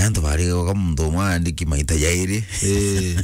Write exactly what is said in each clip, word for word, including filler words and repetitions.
Antu bari goka muntu umwe andiki maita jairi. Eh.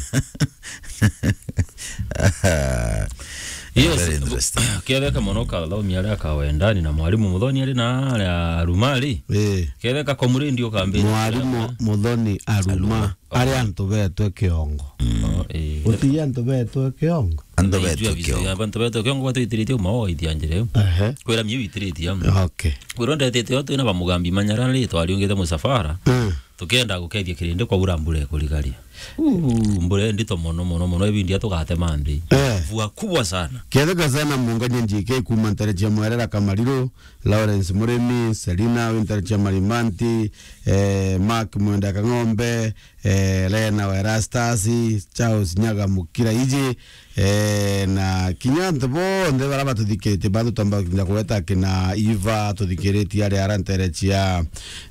Yes, very interesting. Kiatheka mono ka thaumi aria ka wendani na mwalimu Muthoni ari na aria aruma ari. Eh. Kiatheka komuri ndio kambi. Mwalimu Muthoni aruma. Aruma. Ari antu betwe kiongo. Oh, eh. Uti antu betwe kiongo. Antu betwe kiongo. Antu betwe kiongo batwitiritie uma o ithianjire. Ehe. Kwira miu itiritie. Okay. Kwira ndetete o twina bamugambi manyara ri twariungite musafara. Mm. Tukienda gukethia kirindi kwa ura mbura ikurigaria. Uu, mbura ndito mono, mono, mono, ibindi tugatema nthi. Eh. Mvua kubwa sana. Kiatheka sana munganya njike kuma ntere cia mwerera Kamariru, Lawrence Murimi, Selina, wi ntere cia Marimanti, eh, Mark Mwenda Kang'ombe, eh, Lena wa Erastus, Charles Nyaga Mukira iji, eh, na kinya antu bonthe bara batuthikiritie, batutamba kinya kugweta kina Iva, tuthikiritie ari ara ntere cia,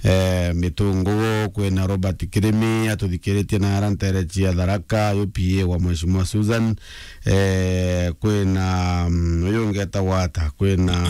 eh, Mitungugu, kwina Robert Kirimi, atuthikiritie na ara ntere cia Tharaka, U P A wa Mheshimiwa Susan, eh, kwina, mm, uyu ungi etagwa ata, kwina,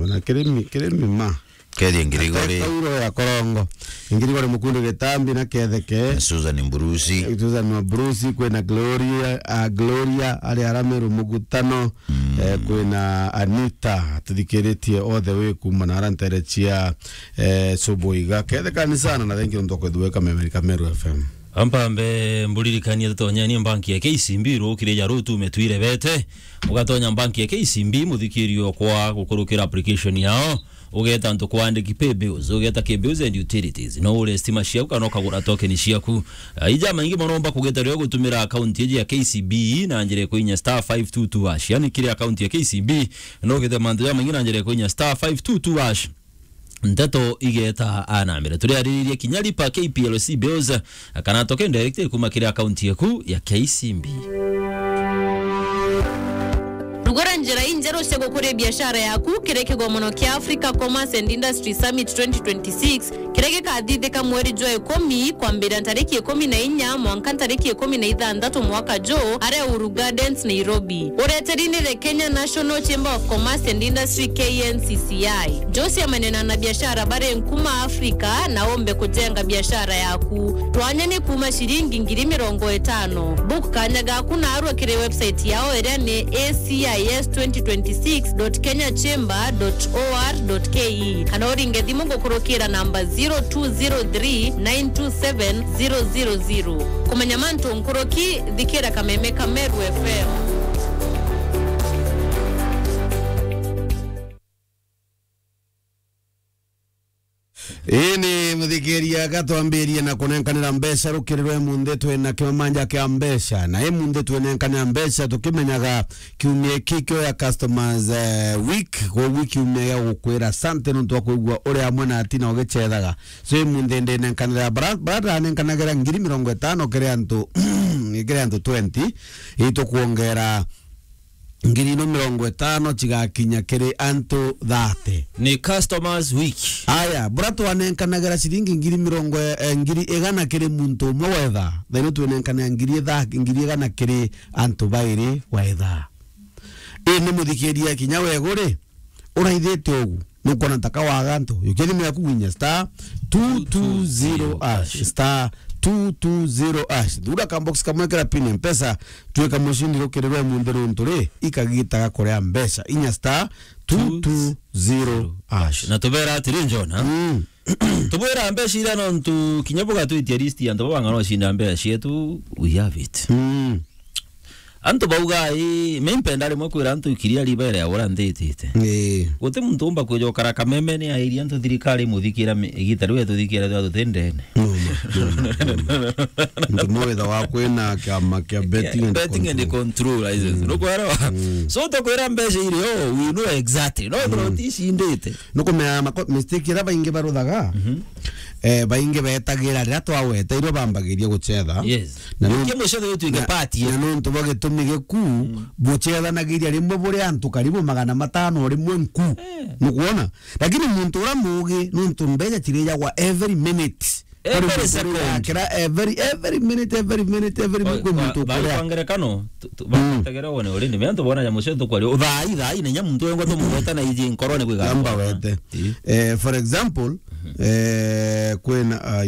na Kirimi, Kirimi ma. Kethi Ngirigori. Kauro ya Korongo. Ngirigori Mukundu Gitambi na Ketheke. Susan Mburusi. Eh, Susan wa Mburusi, kwina Gloria, ah, Gloria, ari ara Meru Mugutano. Mm. Eh, kwina Anita, tuthikiritie all the way kuma na ara ntere cia, eh, Subuiga. Kethekani sana na thank you nontu kwithwika Meru, Meru F M. Ampambe mburirikanie tutonyanie banki ya K C B rukiri ja rutume twirebete. Ugatonya banki ya K C B muthikirio kwa gukurukira application yao. Ugeta antu kwa andiki pay bills, ugeta K bills and utilities. No ure stima ciaku kana ukagura token ciaku. Ah, ija maingi mono umba kugeta rio gutumira account iji ya K C B na njira ya kuinya star five two two hash. Yani kiri account ya K C B, no ugete mantu ja maingi na njira ya kuinya star five two two hash. Nteto igeta anambere. Turiariririe kinya lipa K P L C bills, kana token direct kuma kiri account yaku ya K C B. Rugura njira injeru cia gukuria biashara yaku kiri kigomano kia Africa Commerce and Industry Summit twenty twenty-six, kiria gikathithika mweri jwa ikumi, kwambiria ntariki ikumi na inya mwanka ntariki ikumi na ithanthatu mwaka juu, aria Uhuru Gardens, Nairobi. Ureteri ni the Kenya National Chamber of Commerce and Industry, K N C C I. Jose amenena na biashara bari nkuma Afrika na ombe kujenga biashara yaku. Twanya ni kuma ciringi ngiri mirongo itano. Book kanya gaku narua kiri website yao iria ni A C I S twenty twenty-six dot kenya chamber dot O R dot K E, kana uringe thimu gukurukira namba zero two zero three nine two seven zero zero zero. Kumenya mantu nkuruki, thikira Kameme ka Meru F M. Ii ni muthikiria, gatwambirie na kunenkanira mbeca rukiri rwa imunthi twina kimamanja kia mbeca, na imunthi twinenkanira mbeca tukimenyaga kiumia iki kio ya customers, eh, week, koguo kiumia gia gukwira asante nontu wa kwigua uri amwe na atina ugicethaga. So imunthi ndinenkanira bara, bara ndanenkanagira ngiri mirongo itano kiri antu, kiri antu twenty, itukwongera ngiri ino mirongo itano cigakinya kiri antu thate. Ni customers week. Aya, bura twanenkanagira ciringi ngiri mirongo, eh, ngiri igana kiri muntu umwe wa ithaa. Thaino twinenkanira ngiri itha-, ngiri igana kiri antu bairi wa ithaa. Ii ni muthikiria kinya weguri, uraithite ugu. Nukwona ntaka waga antu. Yukia thimu yaku winya star two two zero hash, star two two zero hash. Thura ka box kamwe kira pin ya Mpesa, twika mucindi rukiri rwa imunthi runtu ri, ikagitaga kuria mbeca. Inya star two two zero hash. Na tubera atiri, Njona. Mm. Tubwira mbeca iria nontu kinya bugatwitia list ya antu baba ng'ano cinda mbeca cietu, we have it. Mm. Antu bauga, ii, mi mpenda rimwe kwira antu ikiria ribere ya ura nthitite. Ii. Guti muntu umba kwija ukara Kameme ni airia antu thirikari imuthikira mi-, igita riu ituthikira twa tuti ndene. Numa, numa, numa. Ntu mwitha wa kwina kiama kia betting and betting and control. Control license. Mm. Nukwelewa? Mm. So tukwira mbeca irio, we know exactly. No, mm, bro, uticindite. Nukumenya mako-, mistake iria baingi baruthaga, mhm, eh, baingi betagira riria twaweteirwe bambagiria gucetha. Yes. Na nuntu, kia mucetho uyu twinge na, party, eh, na nuntu bwa gitumi giku, mm, bucethanagiria rimwe buri antu karibu magana matano rimwe nku. Eh. Nukwona? Lakini muntu uria muugi, nuntu mbeca cirijagwa every minute. Every second. Kuri muntu uria yakira every, every minute, every minute, every minute, kwi muntu ukuria. Kwa ngerekano, tu-, tu-, mm, bategere wone uri ni, antu bona ya mucetho kwari, uthaai, thaai, na nya muntu wengwa tumugweta na iji nkorone kwi gamba wete. Ii. Eh, for example, mhm, eh, kwina, ah,